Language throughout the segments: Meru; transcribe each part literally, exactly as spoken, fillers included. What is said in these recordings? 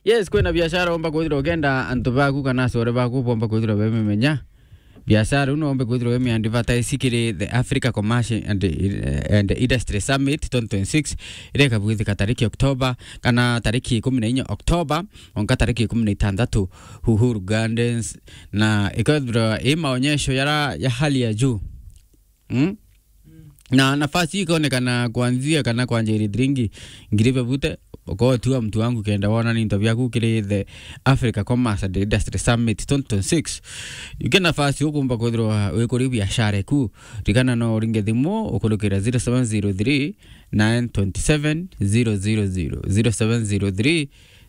Yes, kwina biashara umba kwithirwa ukenda antu baku kana acore baku bomba kwithirwa bemimenya. Biashara ino umbe kwithirwa wemi advertise kiri the Africa Commercial and, and Industry Summit twenty twenty-six, iria ikabwithika tariki October, kana tariki ikumi na inya October, onka tariki ikumi na itantatu, Uhuru Gardens, na ikethirwa i maonyesho yara ya hali ya juu. Mm? Na nafasi ikaonekana kuanzia kana kwanjiri thiringi ngiri bebute, ukotua mtu wangu kenda wona ni into biaku kiri the Africa Commerce and Industry Summit twenty twenty-six. Yuke nafasi ukumba kwithirwa wikuri biashara eku. Ririkana no uringe thimu ukurukira zero seven zero three nine twenty seven zero zero zero, zero seven zero three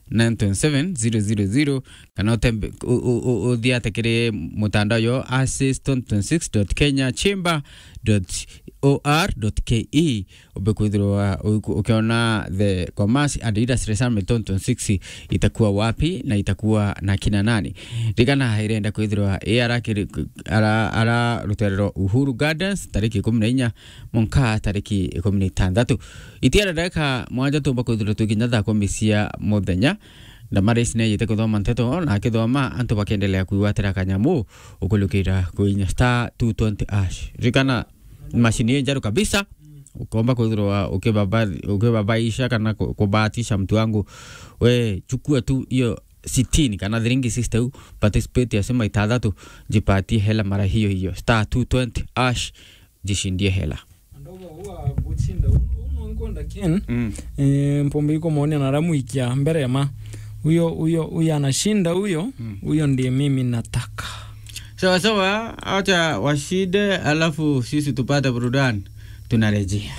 nine twenty seven zero zero zero, kana utembe-, u-, u-, u-, uthiate kiri mutandao yo assist twenty twenty-six dot kenya chamber dot O R dot K E, umbe kwithirwa uku-, ukiona the Commerce and Industry Summit twenty twenty-six itakuwa wapi na itakuwa na kina nani. Ririkana irenda kwithirwa i ara kiri-, ara, ara rutere rwa Uhuru Gardens tariki ikumi na inya mwanka tariki ikumi na itantatu. Itiara ndagika mwanja tumba kwithirwa tukinya thaa kumi cia muthenya. Damaris ni ayite kuthoma nteto, na akithoma antu bakendelea kwigwatira kanyamu ukulukira kuinya star two twenty hash. Ririkana, mashini ii njeru kabisa, ukomba kwithirwa ukibaba-, ukibabaisha kana ku-, kubahatisha mtu wangu. We, chukua tu hiyo sitini kana thiringi sixty u, participate ya sema itathatu, jipatie hela mara hiyo hiyo. Star two twenty hash, jishindie hela. Andogo huwa kuchinda, uno, uno nkwenda Ken. Mm. Eh, mpombe iko maoni na ramu ikia mbere ma. Huyo, huyo, huyo anashinda huyo, Mm. huyo ndiye mimi nataka. Sawa sawa, acha washinde, alafu sisi tupate burudani. Tunarejea.